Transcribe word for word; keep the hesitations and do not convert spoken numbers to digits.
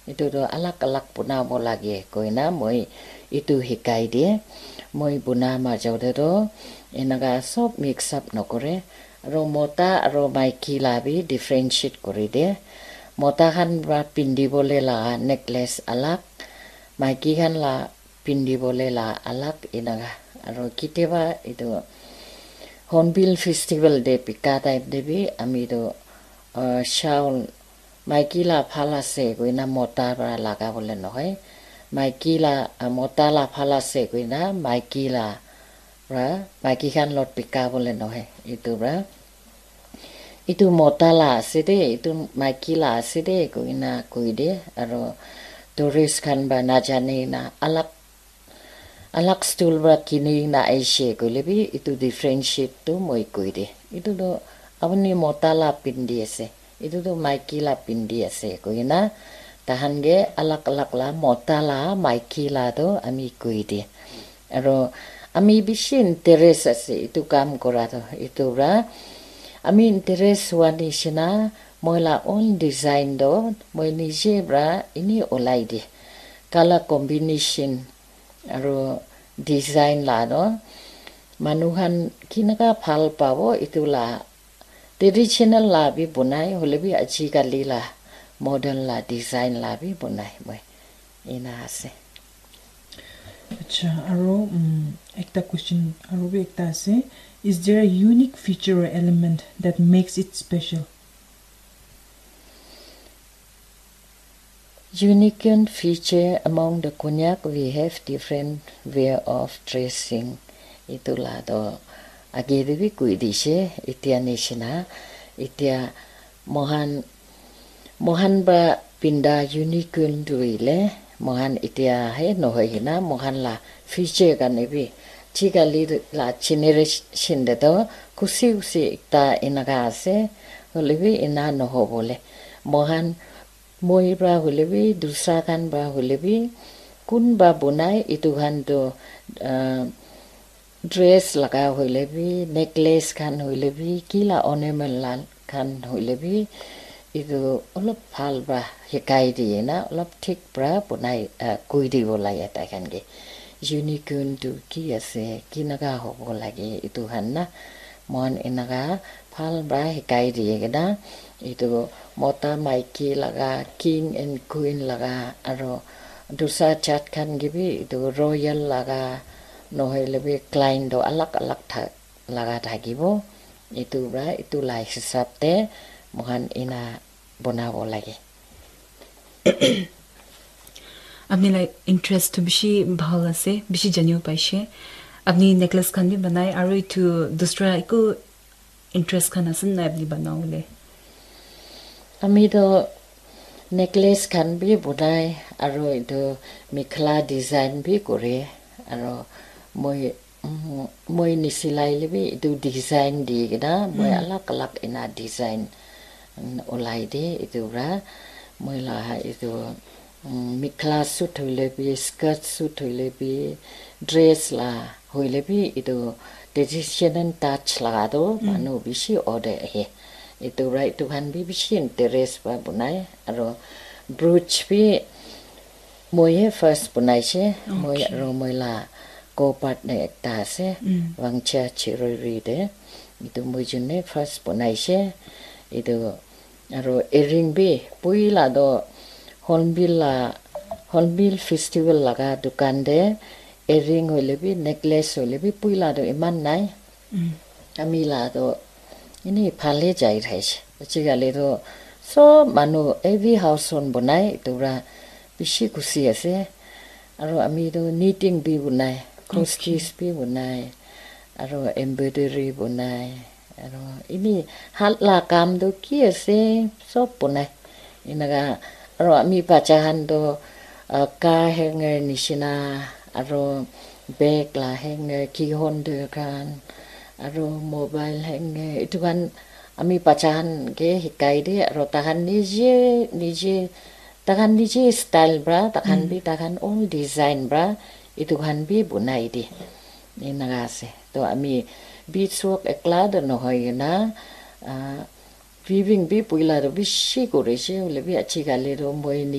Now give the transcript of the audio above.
Etu tu alag alag bonabo lage koina moi etu hikai die. Moi bona majo te tu enaka sob mix up nokore. Aro mota aro maiki la bi differentiate kuri die. Mota khan para pindi bole la necklace alag, maiki khan la pindi bole la alag enaka. Aro kitiaba etu Hornbill Festival te bika time te bi ami tu, uh, shawl maiki la bhal ase koina mota para laga bole nohoi. Maiki la, uh, mota la bhal ase koina maiki la para maiki khan lot bika bole nohoi. Etu para etu mota la ase de, etu maiki la ase de koina koi de, aro tourist khan para najane na alag alag stool para kini na aishe koile bi etu differentiate tu moi koi de. Etu tu apuni mota la pindi ase, etu tu maiki la pindi ase koina tahan ke alag alag la mota la maiki la tu ami koi de. Aro ami bishi interest ase etu kam kora tu, etu para ami interest hua nishina moi la own design tu moi nije para ini olai de. Color combination aro design la tu manu khan kinaka bhal pabo etu la traditional la bi bonai, hoile bi ajikali la modern la design la bi bonai moi. Ena ase. Acha, aro, um, ekta question, aro bi ekta ase. Is there a unique feature or element that makes it special? Unique feature among the Konyak, we have different way of dressing. Etu la to age te bi koi dishe, etia nishina. Etia mohan, mohan para pinda unique tu hoile, mohan etia he nohoi kena, mohan la future karne bi, chikali la generation te to khushi khushi ekta enaka ase, hoile bi ena nohobo le. Mohan moi para hoile bi, dusra khan para hoile bi, kunba bonai, etu khan tu, ah, dress laga hoile bi, necklace khan hoile bi, ki la ornament la khan hoile bi, etu olop bhal para hikai diye na, olop thik para bonai, ah, koi dibo lage tai khan ke. Unique tu ki ase, kinaka hobo lage, etu khan na, mohan enaka bhal para hikai diye kena, etu mota maiki laga, king and queen laga, aro dusra jat khan ke bi etu royal laga, nohoile bi client to alag alag tha-, laga thakibo. Etu para etu la hisab te mohan ena bonabo lage. Apni la interest tu bishi bhal ase, bishi janibo paishe. Apni necklace khan bi banai, aro etu dusra eku interest khan ase nai apni banabole? Ami to necklace khan bi bonai, aro etu mekhela design bi kore, aro moi, mm, moi nisilai le bi etu design di kena, moi alag alag ena design, mm, olai de etu para. Moi la etu, mm, mekhela suit hoile bi, skirt suit hoile bi, dress la hoile bi, etu traditional touch laga to manu bishi order ahe. Etu para etu khan bi bishi interest para bonai, aro brooch bi moi he first bonaishe, moi aro moi la co-partner ekta ase, Wangcha Chirori te. Etu moi jun he first bonaishe. Etu aro earring bi, puila to Hornbill la, Hornbill Festival laga dukan te earring hoile bi, necklace hoile bi, puila to eman nai. Ami la to ini phale jai thaishe. Ajikali to sob manu every house hon bonai, etu para bishi khushi ase. Aro ami to knitting bi bonai, cross stitch bi bonai, aro embroidery bonai, aro ini hat la kam to ki ase, sob bonai. Enaka, aro ami bacha khan to, ah, car hanger nishina, aro bag la hanger, key holder khan, aro mobile hanger, etu khan ami bacha khan ke hikai de, aro takhan nije, nije, takhan nije style para, takhan bi takhan own design para, etu khan bi bonai de. Enaka ase. To ami beads work ekla to nohoi kena, ah, weaving bi puila to bishi korishe, hoile bi ajikali to moi ni-,